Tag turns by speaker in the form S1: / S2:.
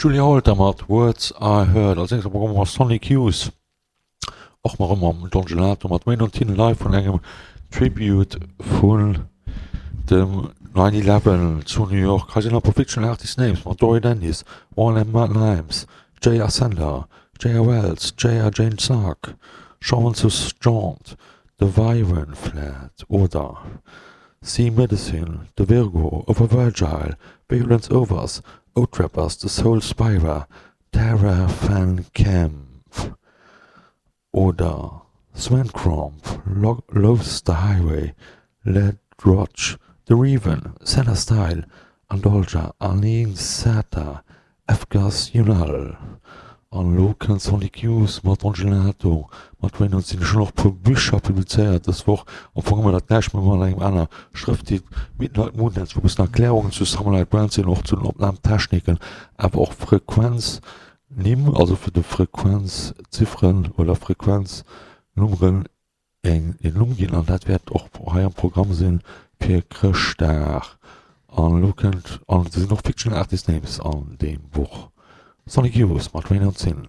S1: Julia Holter mat Words I Heard. Als nächst am Programm hu mer Sonic Youth, och nach ëmmer mam Don Gelato mat Wayne on Tin live vun engem Tribute vun dem 9/11 zu New York. Hei sinn nach e puer Fictional Artist Names mat Dory Dennis, Warren M. Limes, J.R. Sender, J.R. Wells, J.R. Jane Sark, Jean-Francis Jaunt, The Viren Flat oder Sea Medicine, The Virgo, Over Virgile, Violence Overs, Oatrappers, The Soul Spira, Tara Van Camp oder Sven Cromp, Loves the Highway, Led Roch, The Reven, Senna Style, Andolja, Aline Sata, Efgas Yunal. An elo kënnt Sonic Youth mat Angelato, mat Rain on Sin. Ech hunn och e puer Bicher publizéiert dës Woch. Am Fong ëmmer dat gläicht, mä mat engem aner Schrëfttyp. Midnight Moondance, wou e bëssen Erklärungen zu Summerlight Brand sinn, och zu den Opnamtechniken, awer och Frequenznimm, also fir de Frequenzzifferen oder Frequenznummeren een Numm ginn an dat wäert och hei am Programm sinn fir Chrëschtdag. An elo kënnt, an et sinn och Fictional Artist Names an deem Buch, Sonic Youth mat Rain on Sin.